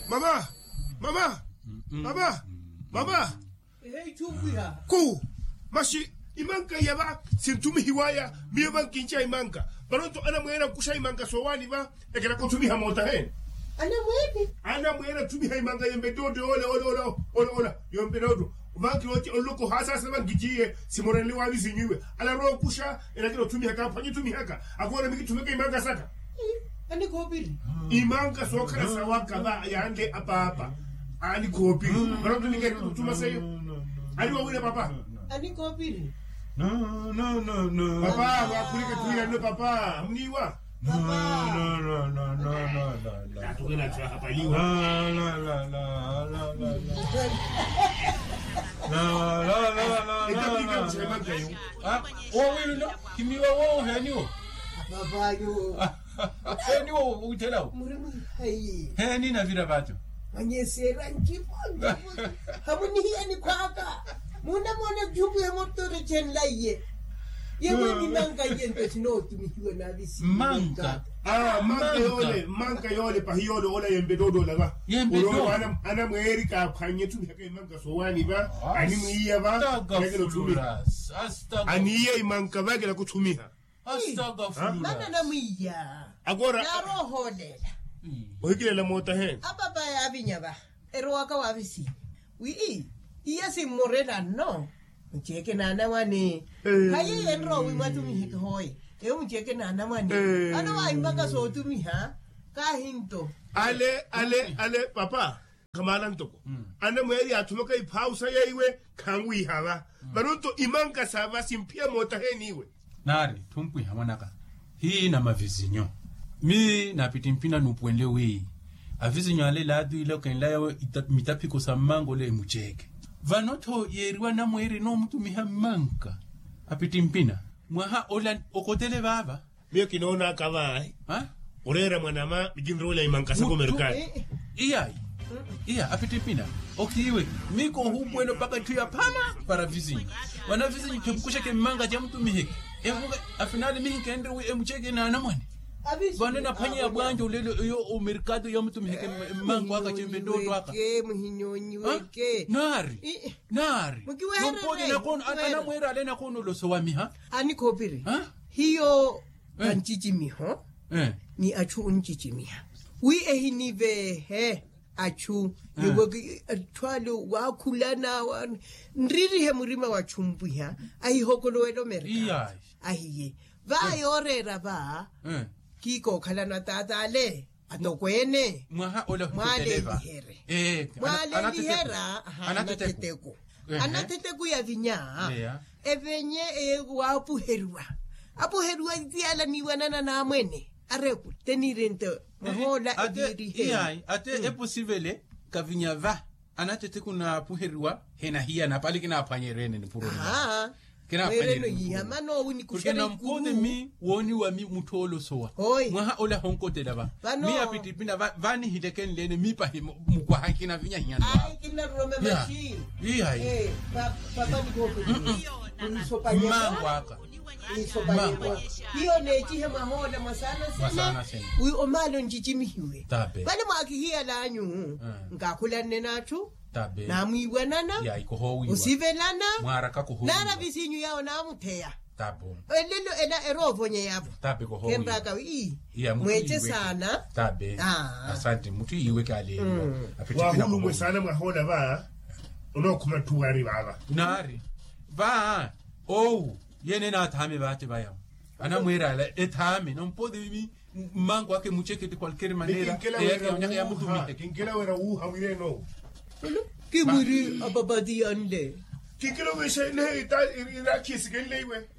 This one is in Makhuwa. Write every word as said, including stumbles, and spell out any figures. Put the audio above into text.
Mama, mama, mama, mama. Ku, masi imanka iya va sinttumihiwaya. Miyo va nkinca imanka. Vano-tho anamweene akuxa imanka soowaani va. Ekeraka otthumiha mootaheene. Anamweene attumiha imanka yempe ttootto ole ole ole. Yompe ttootto. Vanki ooti onloko haasaasa vanki ciiye simorenle waavisinyu iwe. Alarowa okuxa. Enakina otthumiha kaaphwanye otthumihaka. Akoona mikitthumiha imanka saka. Imanka sookhala sawaka va yaanle apaapa. Anikhoopiri. Vano ttumiha ettuma seiyo. Aniwawina papa. Anikhoopiri. Papa waakhulike twiiranno papa amuniiwa. Owilino kimiwa wowo heeniwo. Heeniwo. Heeniwo withelawo. Heeni navira vato. Manyesera njivo njivo. Hamunihiyani khwaka. Munamoona jumbu ya motore chenlaiye. Yemwe mimanka yempe sinootumihiwa navisi manka. Manka yoole manka yoole pahi yoole ola yempe tootola va. Yempe tootola. Anamweeri kaaphwanye tumihaka imanka soowaani va. Animwiiya va. Aniiya imanka va ekela kuthumiha. Astagafurullah. Mana namwiya. Agora. Naroohoolela. Ohikilela mootaheene. Apapa yaavinya va erowaka waavisinyu wi iya simmorela nno. Muceeke naanamwane. Hayi enrowa wi mwatumiheke hooye. Eyo muceeke naanamwane. Vano waahimpaka sootumiha. Kaahinto. Ale ale ale papa. Khamaala ntoko anamweeri yaathumaka iphaawu saya iwe. Khanwiiha va. Vano-tho imanka sa va simphiya mootaheeni iwe. Naari thumpwiha mwanaka. Hiina mavisinyo. Mi napittimpina nuupuwenle wi avisinyo ale laati ile okenlayawe. Mitaphiko sa mmanka ole emuceeke. Vano-tho yeeriwa anamweeri enoomutumiha mmanka. Apittimpina mwaha ola okotele vaava. Miyo kinoonaka vaahi. Oreera mwanama mikinroolya imanka saka omerkali. Iyayi. Iya apittimpina. Okiiwe. Miko ohuupuwela opaka etthu ya phama para visinyu. Vana visinyu khemukuxeke mmanka jamutumiheke. Emuka afinali mihikenre wi emuceke naanamwane. Vano enaphwanya ya bwanja olelo eyo omerkado yamutumiheke. Mmanka waka cempe nttootto aka. Muhinyonyiweke. Naari. Naari. Nompoti nakoona anamweera ale nakoona olosowamiha. Anikhoopiri. Hiyo vancicimiho ni achu oncicimiha wi ehiniveehe achu. Niweki atthu ale waakhulana nririhe murima wa chumpwiha. Ahihokolowela omerka ahiye va yooreera va. Kiikookhalana taata ale atokweene. Mwaha ole mwaalelihere. Mwaalelihera anateteku. Anateteku yavinya evenye waapuheriwa. Apuheriwa tiyala niiwanana naamwene areku tenirente. Mwahoola eviirihe. Ate eposivele kavinya va anateteku naapuheriwa henahiyana pali kinaaphwanyerene nipuro. Mweereno yiiha mano wi nikuxereke. Nampote mi wooniwa mi mutthu oolosowa. Mwaha ole ahonkotela va mi apittimpina va nihileke nleene mi pahi mukwaha kinavinyahiyana. Mmango aka. Mmango aka. Hiyo neecihe mwahoola mwasaana sene wi omaale oncicimihiwe. Vale mwaakihiyalanyu nkakhulanne n'atthu. Namwiiwanana osivelana. Naara visinyu yawo naamutheya. Elelo ela eroovonyeyavo. Khenraka wi mweece saana. Asante mutthu yiiweke aleeriwa. Wahulumwe saana mwahoola va onookhuma ttuwari vaava. Naari va owu yene naathaame vaate vayawo. Anamweera ala ethaame nompoti mmango ake mucekete kwalkeri manera. Eyake yamutumi. Kinkela wera wuuha mwireno. Kimwiri apapatiyanle. Kinkela wesha nehe irakhisikenle iwe.